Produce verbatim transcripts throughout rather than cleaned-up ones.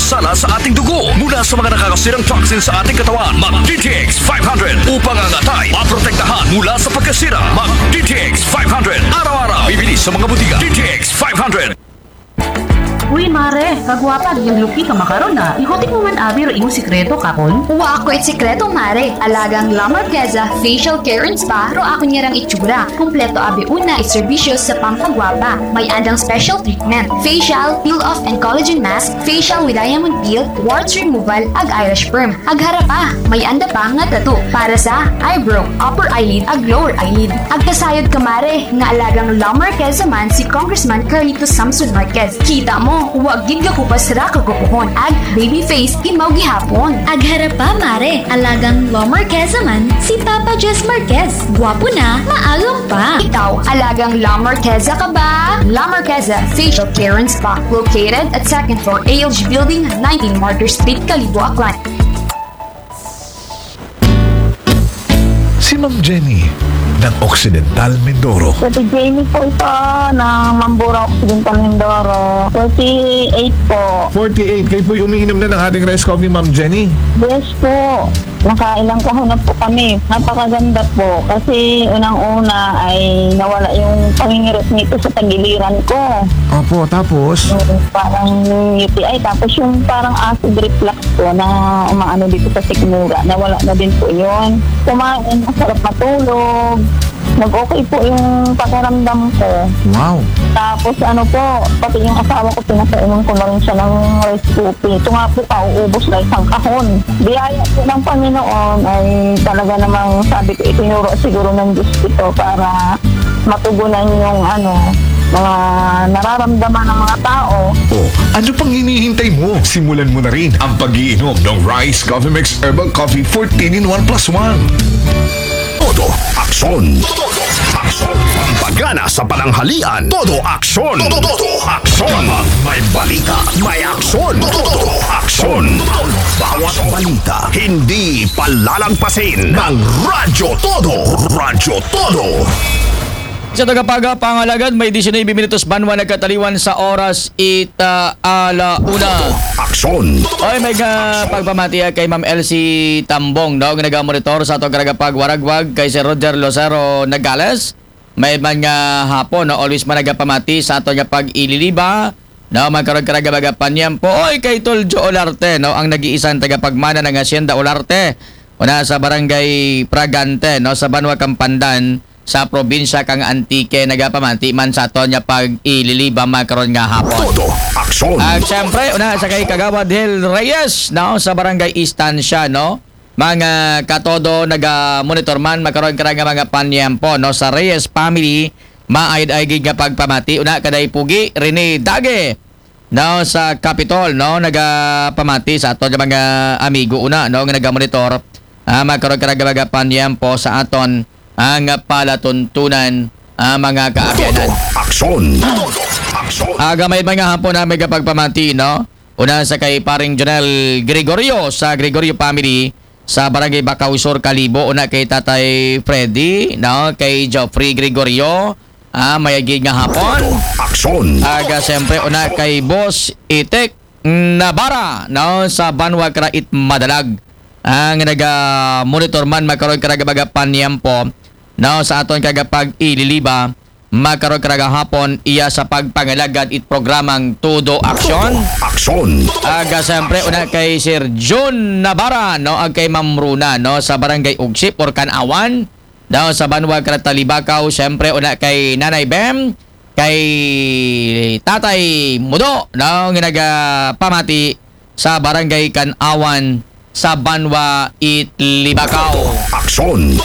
Sala sa ating dugo mula sa mga nakakasirang toxin sa ating katawan. Mag D T X five hundred upang ang atay maprotektahan mula sa pagkasira. Mag D T X five hundred. Araw-araw. Bibili sa mga butika. D T X five hundred. Uy, mare, kagwapa, giyang lupi ka makaron na. Ikutik mo man abi ro imong sikreto kapon? Wa ako it sikreto, mare. Alagang La Marqueza Facial Care and Spa ro ako niyarang itsura. Kompleto abi una it serbisyo sa pampagwapa. May andang special treatment. Facial, peel off and collagen mask, facial with diamond peel, warts removal, ag eyelash perm. Ag harapa, may anda pa nga tattoo para sa eyebrow, upper eyelid, ag lower eyelid. Ag kasayod ka mare, nga alagang La Marqueza man si Congressman Carlito Samson Marquez. Kita mo, wa gid gakupas ra kagupuhon. Ag baby face, imaw gihapon. Ag harapa mare, alagang La Marqueza man si Papa Jess Marquez. Gwapo na, maagom pa. Ikaw, alagang La Marqueza ka ba? La Marqueza Facial Care and Spa, located at second floor A L G Building, nineteen Martyr Street, Kalibo, Aklan. Si Ma'am Jenny ng Occidental Mindoro. Ate Jenny po ito ng Mambura Occidental Mindoro. forty-eight po. forty-eight. Kayo po'y umiinom na ng ating rice coffee, Ma'am Jenny. Yes po. Nakailang kahon na po kami. Napakaganda po. Kasi unang-una ay nawala yung pangingirot nito sa tagiliran ko. Opo, tapos? Yung parang U T I. Tapos yung parang acid reflux ko na umaano dito sa sikmura. Nawala na din po yun. Kumain, masarap matulog. Nag-okay po yung pakiramdam ko. Wow. Tapos ano po, pati yung asawa ko, pinapainom ko na rin siya ng rice coffee. Ito nga po, pauubos na isang kahon. Biyaya po ng Panginoon ay talaga namang sabi ko, itinuro siguro ng Diyos ito para matugunan yung ano, mga nararamdaman ng mga tao. O, ano pang hinihintay mo? Simulan mo na rin ang pag-iinom ng Rice Coffee Mix Herbal Coffee fourteen in one plus one. Todo aksyon. Todo aksyon. Pampagana sa pananghalian. Todo aksyon. Todo aksyon. May balita. May aksyon. Todo aksyon. Bawat balita, hindi palalagpasin ng Radyo Todo. Radyo Todo. Sa tagapaga, pangalagad, may diecinuebe minutos banwa nagkataliwan sa oras ita ala una. Aksyon. Oy, may nga pagpamatiya kay Ma'am Elsie Tambong, no? Nga nagamonitor sa atong karagapag waragwag kay Sir Roger Lucero Nagales. May man nga hapon, no? Always man nagapamati sa ato nga pag-ililiba, no? Magkaroon ka nagabagapanyam po. Oy, kay Tol Joe Olarte, no? Ang nag-iisang tagapagmana ng Hacienda Olarte. Una sa barangay Pragante, no? Sa Banwa Kampandan, sa probinsya kang Antique, nagapamati man sa aton nga pag-ililiba makaron nga hapon. Todo aksyon. At siyempre, una sa kay Kagawad Hel Reyes, no, sa Barangay Estancia, no. Mga katodo, naga-monitor man makaron ka nga mga panyempo, no, sa Reyes family, maayad ay gid nga pagpamati. Una kaday Pugi Rene Dage, no, sa Capitol, no, nagapamati sa aton nga mga amigo una, no, nga nagamonitor, ah, makaron ka nga mga panyempo sa aton ang palatuntunan, ah, mga kaabyanan. Aksyon. Aksyon. Aga may mga hapon na may pagpamati, no? Una sa kay paring Jonel Gregorio sa Gregorio family sa Barangay Bacau Sur, Kalibo. Una kay Tatay Freddy, no? Kay Geoffrey Gregorio, ah, mayagig nga hapon. Aksyon. Aga siyempre una kay Boss Itek Nabara, no? Sa Banwa Krait Madalag. Ang naga-monitor man makaroon ka nga mga panyempo, no? Sa aton kagapag ililiba, makaroon ka nga hapon iya sa pagpangalagad it programang Todo Aksyon. Aksyon. Aga siyempre una kay Sir Jun Nabara, no? Ag kay Ma'am Runa, no? Sa Barangay Ugsip or Kanawan, daw sa Banwa Kratalibacaw, siyempre una kay Nanay Bem, kay Tatay Mudo, no? Nga nagapamati sa Barangay Kanawan sa Banwa Itlibacaw. Aksyon.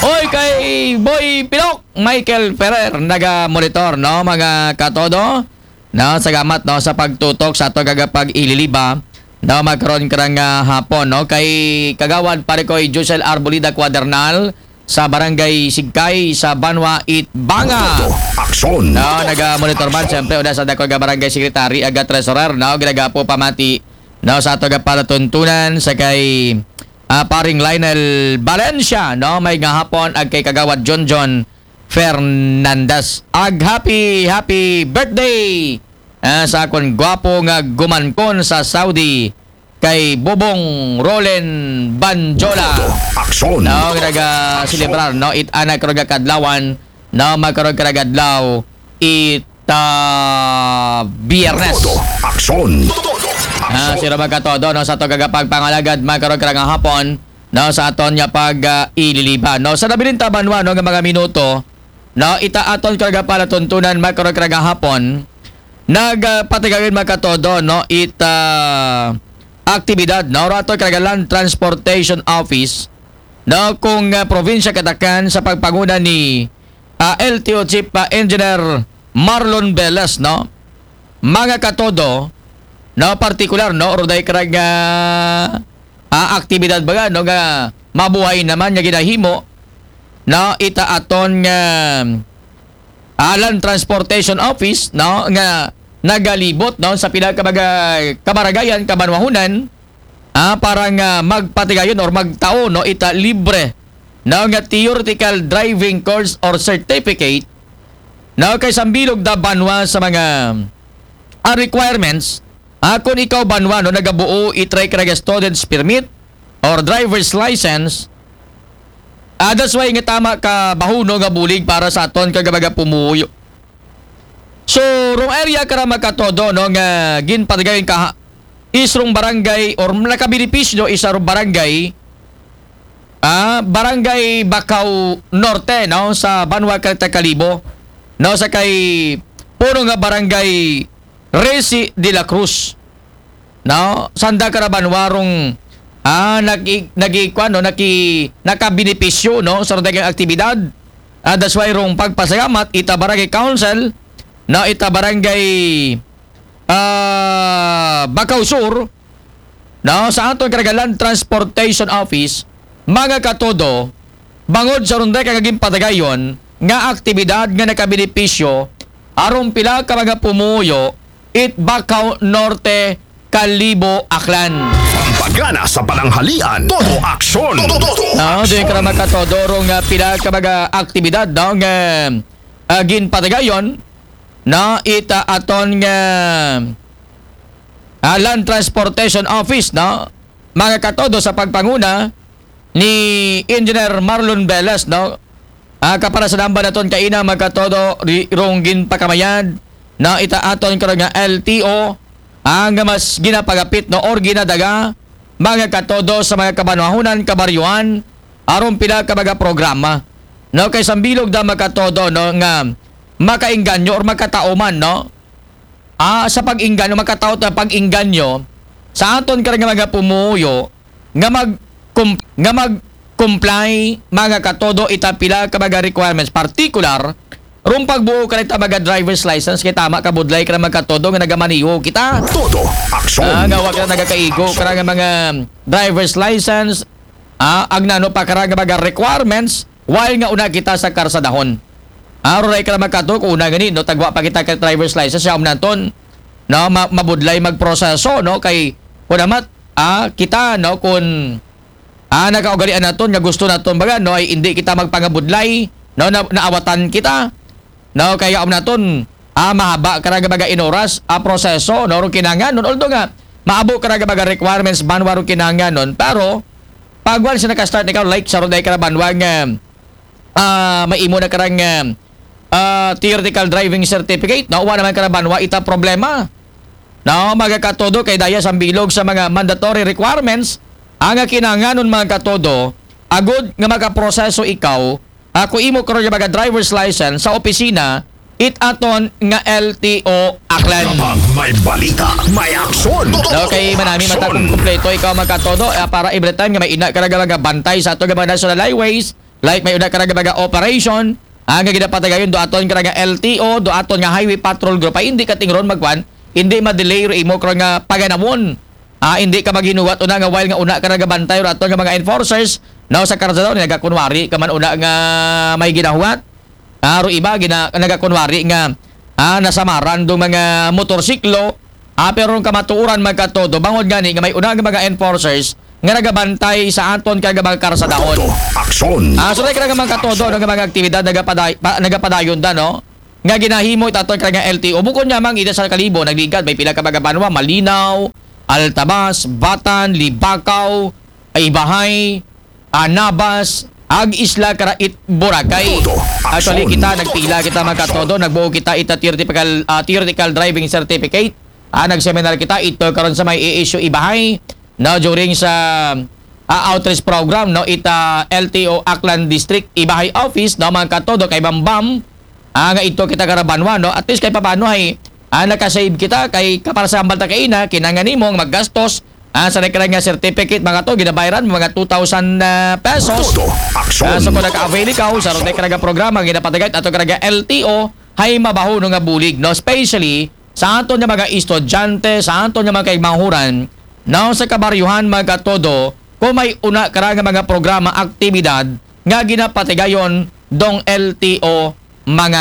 Hoy, kay Boy Pilok, Michael Ferrer, naga-monitor, no, mga katodo. No, salamat, no, sa pagtutok sa ato kagapag ililiba. No, magkaroon ka nga hapon, no, kay Kagawad Parikoy Josel Arbolida Cuadernal sa Barangay Sigkay sa Banwa Itbanga. Aksyon. No, naga-monitor man, siyempre, una sa dako nga Barangay Secretary, aga Treasurer, no, ginagapo pamati, no, sa ato nga palatuntunan sa kay, ah, paring Lionel Valencia, no, may nga hapon, ag kay Kagawad John John Fernandez. Ag happy, happy birthday, Ah, sa akon gwapo nga gumankon sa Saudi, kay Bobong Rolen Banjola. Aksyon. No, naga celebrar, no, it ana karon nga kadlawan, no, magkaron karon nga adlaw, it ah, Biyernes. Aksyon. Ah, sino magkatodo, no, sa to kagapagpangalagad, magkaron karon nga hapon, no, sa aton nga pag ah, ililiba, no, sa nabilin ta banwa, no, nga mga minuto, no, ita aton kagapalatuntunan, magkaron karon nga hapon, nagpatigayon, magkatodo, no, ita aktibidad, no, rato kag Land Transportation Office, no, kung ah, probinsya katakan sa pagpanguna ni ah, L T O Chief ah, Engineer Marlon Velas, no, mga katodo, no, partikular, no, roday karag ah, aktibidad baga, no, nga mabuhay naman nga ginahimo, no, ita aton nga ah, Land Transportation Office, no, nga nagalibot, no, sa pila ka mga kabaragayan, kabanwahunan, ah, para nga magpatigayon or magtao, no, ita libre, no, nga theoretical driving course or certificate, no, kay sambilog da banwa sa mga ah, requirements, ah, kung ikaw banwa, no, nagabuo itry ka nga student's permit or driver's license, ah, that's why nga tama ka bahuno nga bulig para sa aton kag mga pumuyo. So, rong area kara magkatodo, no, nga ginpatigayon ka is rong barangay or nakabenepisyo isa rong barangay, ah, barangay Bacau Norte, no, sa banwa Caleta Kalibo, no, sa kay puno nga barangay Resi de la Cruz, no, sanda kara banwa rong ah, nag nagikuan, no, naki nakabenepisyo, no, sa daghang aktibidad. Ah, that's why rong pagpasalamat ita barangay council, no, ita barangay ah, Bacau Sur, no, sa aton karagalan transportation office, mga katodo, bangod sa rong daghang ginpatigayon nga aktibidad nga nakabenepisyo aron pila ka mga pumuyo it Bacau Norte, Kalibo, Aklan. Pampagana sa pananghalian. Todo aksyon. Todo, todo No, doon ka na magkatodo rong ah, pila ka mga aktibidad, no, nga ah, ginpatigayon, no, ita aton nga ah, Land Transportation Office, no, mga katodo sa pagpanguna ni Engineer Marlon Velas, no, ah, kapara sa namba naton kaina, mga katodo, ri- rong ginpakamayad, no, ita aton karon nga L T O, ang mas ginapagapit, no, or ginadaga, mga katodo, sa mga kabanwahunan, kabaryohan, aron pila ka mga programa, no, kay sambilog da, mga katodo, no, nga makainganyo or makatao man, no, ah, sa pag-inganyo, makataot na pag-inganyo sa aton karang mga pumuyo nga mag nga mag comply, mga katodo, ita pila ka mga requirements, particular rong pagbuo ka nita mga driver's license, kay tama ka budlay ka na, mga katodo, nga nagamaniho kita. Todo aksyon. Ah, nga wa ka na nagakaigo ka nga mga driver's license, ah, ang nano pa ka nga mga requirements while nga una kita sa karsadahon. Ah, roray ka na, mga katodo, kung una gani, no, tagwa pa kita ka driver's license, yaom naton, no, ma- mabudlay magproseso, no, kay kunamat, ah, kita, no, kung ah, nakaugalian naton nga gusto naton baga, no, ay hindi kita magpangabudlay, no, na, naawatan kita, no, kaya um naton, ah, mahaba ka nga baga in oras, ah, proseso, no, rong kinahanglan, no, although nga maabo ka nga baga requirements banwa rong kinahanglan, no, pero pag once na ka-start ikaw, like sa roday ka na banwa nga ah, may imo na karang ah, ah, theoretical driving certificate, no? Wa naman ka na banwa ita problema. No, mga katodo, kay daya sambilog sa mga mandatory requirements ang kinahanglanon, mga katodo, agud nga makaproseso ikaw, ako imo karon nga mga driver's license sa opisina it aton nga L T O Aklan. Kapag may balita, may aksyon. No, kay manami mata kung kumpleto ikaw, mga katodo, eh, para every time nga may ina ka nga mga bantay sa ato nga mga national highways, like may una ka nga mga operation, ang nga ginapatigayon do aton ka nga L T O, do aton nga Highway Patrol Group, ay hindi ka tingron magkuan, hindi ma-delay ro imo ka nga paganamon. Ah, hindi ka maghinuwat una nga while nga una ka nga bantay ro aton nga mga enforcers, no, sa karsada, nagakunwari ka man una nga may ginahuwat. Ah, ro iba gina, nagakunwari nga ah, nasamaran do mga motorsiklo. Ah, pero rong kamatuoran, mga katodo, bangod gani nga may una nga mga enforcers nga nagabantay sa aton ka nga mga karsadahon. Aksyon. Ah, so, like, mga katodo, no, nga mga aktibidad nagapaday, pa, nagapadayon da, no? nga ginahimo ita ato kara nga L T O. Bukod nga mang ida sa kalibo, nagligad, may pila ka mga banwa, Malinaw, Altabas, Batan, Libacao, Ibahay, Anabas, ag Isla Karait, Boracay. Actually, kita nagpila kita, mga katodo, nagbuo kita ita theoretical, ah, theoretical driving certificate. Ah, nagseminar kita ito karon sa may A S U Ibahay, no, during sa, ah, outreach program, no, ita L T O Aklan District Ibahay Office, no, mga katodo, kay Bambam, ah, nga ito kita kara banwa, no, at least kay paano ay, ah, nakasave kita kay kapara sa hambal ta kaina, kinangan nimo nga maggastos, ah, sa record nga certificate, mga to, ginabayaran mo mga two thousand, ah, pesos. Ah, so kung naka-avail ikaw sa record nga programa, ginapatigay ato kara nga L T O, hay mabaho no nga bulig, no, especially sa aton nga mga estudyante, sa aton nga mga kaigmahuran, no, sa kabaryuhan, mga katodo, kung may una kara nga mga programa, aktibidad nga ginapatigayon dong L T O, mga